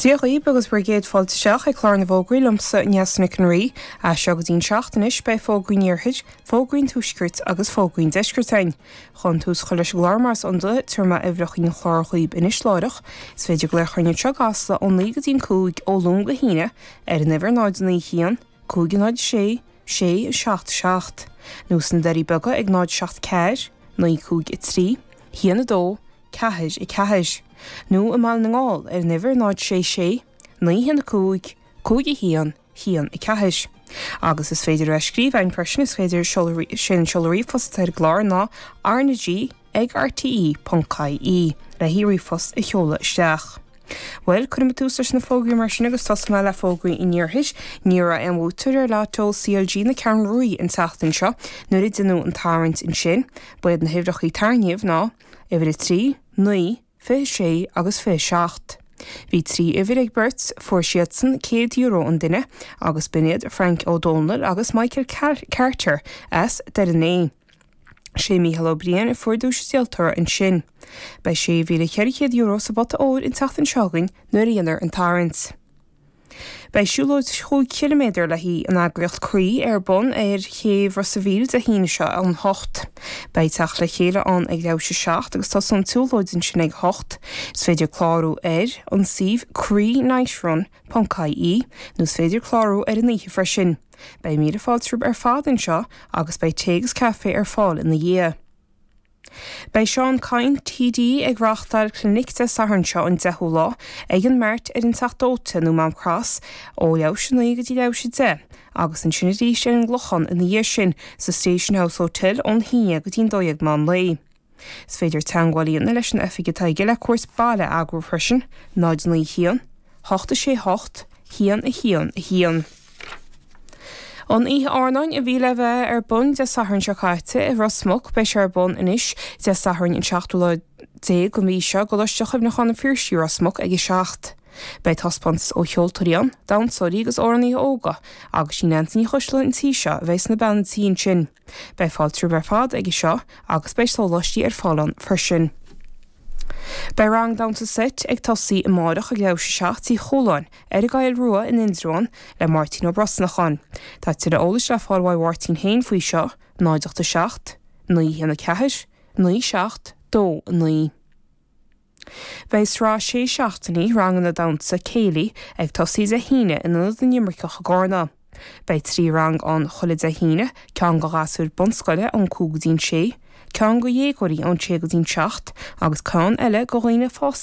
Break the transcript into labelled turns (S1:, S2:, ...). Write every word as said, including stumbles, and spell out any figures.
S1: Dia dhaoibh agus bhur gcéad fáilte isteach ag clár na bhfógraí liomsa Neasa Nic an Rí, as seo go dtí'n seacht anois beidh fógraí an iarthair, fógraí an tuaiscirt agus fógraí an deiscirt againn. Chun tús a chur leis an gclár mar is iondúil, tabharfaidh mé uimhreacha an chláir dhaoibh anois láithreach. Is féidir glaoch orainn anseo i gCasla ó naoi go dtí'n cúig ó Luan go hAoine ar an uimhir náid naoi haon, cúig náid sé, sé seacht seacht, nó sna Doirí Beaga ag náid seacht ceathair, naoi cúig a trí, haon a dó, ceathair a ceathair, nó i mBaile na nGall ar an uimhir náid sé sé, naoi haon a cúig, cúig a haon, haon a ceathair. Agus is féidir a bheith ag scríobh againn freisin, is féidir sé an seoladh ríomhphost atá ar an gclár ná RnaG ag rte ponc ie le ríomhphost a sheoladh isteach. Bhuel, cuirfidh mé tús leis na fógraí mar sin agus tosóidh mé le fógraí an iarthair. Ní raibh aon bhuaiteoir ar Lotto CLG na Ceathrún Rua an tseachtain seo nuair a deineadh an tarraingt ansin. Ba iad na huimhreacha tarraingthe ná uimhir a trí, naoi, fiche sé agus fiche seacht. Bhí trí uimhir ag beirt, fuair siadsan céad euro an duine agus b'in iad Frank O'Donnell agus Michael Carter as Doire an Fhéich. Sé Mícheál Ó Briain a fuair duais an díoltóra ansin. Beidh sé mhíle ceithre chéad euro sa bpota óir an tseachtain seo chugainn nuair a dhéanfar an tarraingt. Beidh siúlóid chúig chiliméadar le haghaidh an eagraíocht Croí ar bun ar chéibh Ros an Mhíl Dé hAoine seo ón hocht. Beidh teacht le chéile ann ag leathuair tar éis a seacht agus tosóidh an tsiúlóid ansin ag hocht. Is féidir clárú ar an suíomh croínightrun ponc ie nó is féidir clárú ar an oíche freisin. Beidh míle fáilte romhaibh ar fad anseo agus beidh tae agus caife ar fáil ina dhiaidh. Beidh Seán Kyne TD ag reáchtáil clinic Dé Sathairn seo an deichiú lá ag an Mart ar an Teach Dóite nó Mám Cross ó leathuair tar éis a naoi go dtí leathuair tar éis a deich, agus ansin arís ar an gClochán ina dhiaidh sin sa Station House Hotel ón haon déag go dtí'n dó dhéag meán lae. Is féidir teagmháil a dhéanamh leis an oifig atá aige le cuairt baile a eagrú freisin, náid naoi haon, hocht a sé hocht, haon a haon a haon. An oíche airneáin a bhí le bheith ar bun Dé Sathairn seo caite i Ros Muc beidh sé ar bun anois Dé Sathairn an seachtú lá déag den mhí seo i gColáiste Chuimhneacháin an Phiarsaigh Ros Muc ag a seacht. Beidh taispeántas ó cheoltóirí ann, damhsóirí agus amhránaithe óga, agus sí Neansaí Ní Choisdealbha an tí seo a bheidh sna bean tí ansin. Beidh fáilte romhaibh ar fad aige seo agus beidh sóláistí ar fáil ann freisin. Beidh rang damhsa seit ag tosaí amárach ag leathuair tar éis a seacht Tigh Chualáin ar an gCoill Rua in Indreabhán le Máirtín Ó Brosnacháin. Tá tuilleadh eolais le fáil uaidh Mháirtín féin faoi seo, náid ocht a seacht, naoi haon a ceathair, naoi seacht, dó a naoi. Beidh sraith sé seachtainí ranganna damhsa céilí ag tosaí Dé hAoine in Ionad na nImirceach i gCarna. Beidh trí rang ann chuile Dé hAoine, ceann do ghasúir bunscoile ón cúig go dtí'n sé, ceann do dhéagóirí ón sé go dtí'n seacht, agus ceann eile do dhaoine fásta